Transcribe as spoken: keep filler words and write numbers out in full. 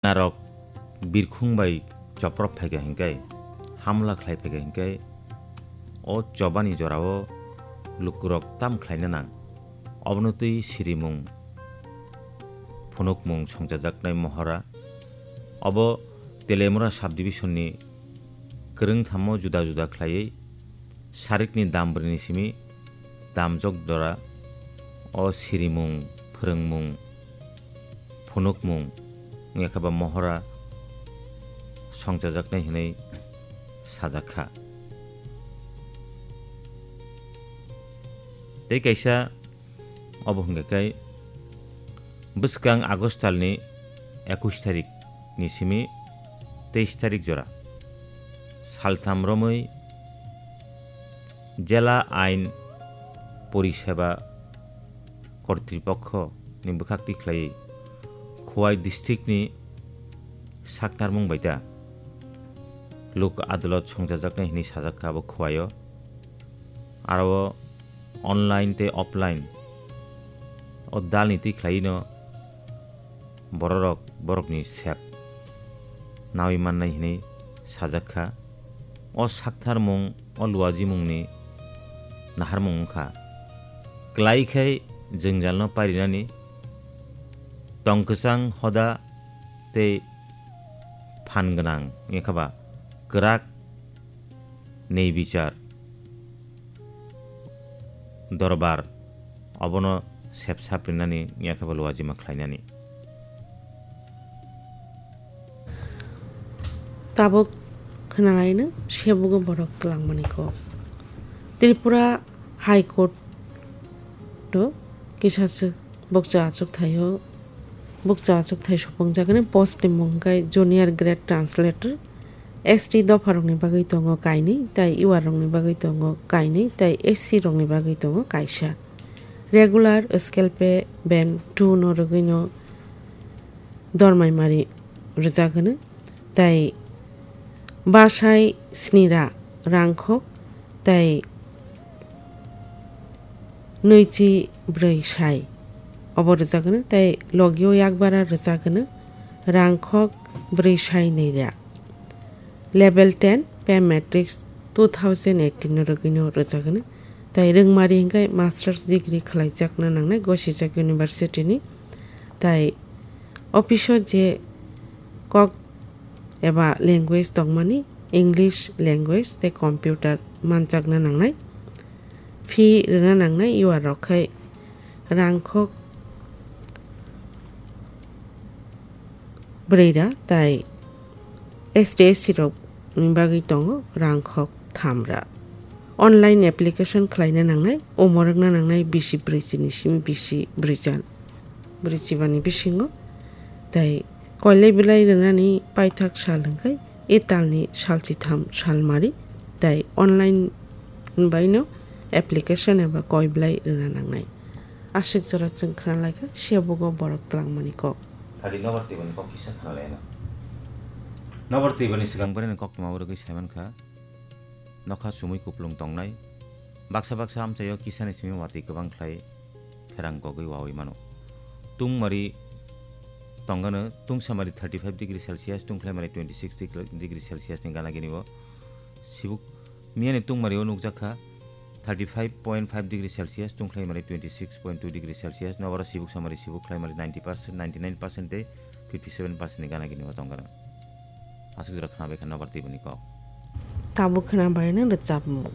Narok birkhung bai choprok phaikha hinkhe, hamla khlai phaikha hinkhe, o chobani jorao lukurok tam khlaina nang. Obono twi sirimung, phunukmung songchajaknai mohora. Obo Telemura subdivision ni kwrwngthamo juda juda khlaiwi sarikni dam bwrwini simi damjok jora o sirimung, phwrwngmung, phunukmung wngya khe ba mohora songchajaknai hwnwi sajak kha. Tei kaisa obo hwnkhe khe bwskang August talni ekush tarik ni simi teis tarik jora saltham romwi Jela Ain Poriseba Kortripokho ni bwkhak twi khlaiwi Khowai district ni saktarmung bai ta lok adolot songchajaknai hwnwi sajak kha abo Khowai o. Aro o online tei offline o dalni twi khlaiwino bororok borokni sep nawi mannai hwnwi sajak kha. O saktharmung o luajimungni naharmung wngkha. Klai khai jwngjalno pairinani tong kwchang hoda tei phan gwnang wngya khe ba kwrak nei bichar dorbar obono sep saprinani wngya khe ba luajima khlainani. Tabuk khwnalaino sebugo borok twlangmani kok. Tripura High Court o kisa swk bukcha achukthai o, bukcha achukthai supungjagani post ni mung khe Junior Grade Translator. S T dopha rokni bagwi tongo kainwi, tei U R rokni bagwi tongo kainwi, tei S C rokni bagwi tongo kaisa. Regular scale pay band two no rwgwino dormaimari rwjak hwno, tei bwsai snira rangkhok tei nwichi brwi sai obo rwjak hwno, tei logio yakbara rwjak hwno rangkhok brwi sai nwi ra. Level ten pay matrix two thousand eighteen no rwgwino rwjak hwno, tei rwngmari hwnkhe masters degree khlaijakna nangnai gosijak university ni, tei office o je kok eba language tongmani English language tei computer manjakna nangnai. Fee rwna nangnai U R rok khai rangkhok brwi ra tei S T S C rokni bagwi tongo rangkhok tham ra. Online application khlaina nangnai, omo rwkna nangnai bisi brwichini simi bisi brwicha, brwichibani bisingo. Tei koilai belai rwnani paithak sal hwnkhe e talni sal chitham sal mari, tei online baino application eba koi belai rwna nangnai. Aswk jora chwng khna lai kha, sebugo borok twlangmani kok. Thadi nobar twibani kok kisa khna lai no. Nobar twibani swkang bwrwini koktwma rwgwi sai man kha. Nokha chumui kuplung tongnai. Baksa baksa amchaio kisani simi watwi kwbang khlai pherang kogwi wawi mano. Tungmari tongano, tungsamari thirty five degree Celsius, tungkhlaimari twenty six degree Celsius ni gana gini o. Sibuk miyani tungmari o nukjak kha thirty five point five degree Celsius, tungkhlaimari twenty six point two degree Celsius, nobaro sibuk samari sibuk khlaimari ninety percent, ninety nine percent tei fifty seven percent ni gana gini o tongkha. Aswk jora khna bai kha nobar twibani kok. Tabuk khna bai no rwchapmung.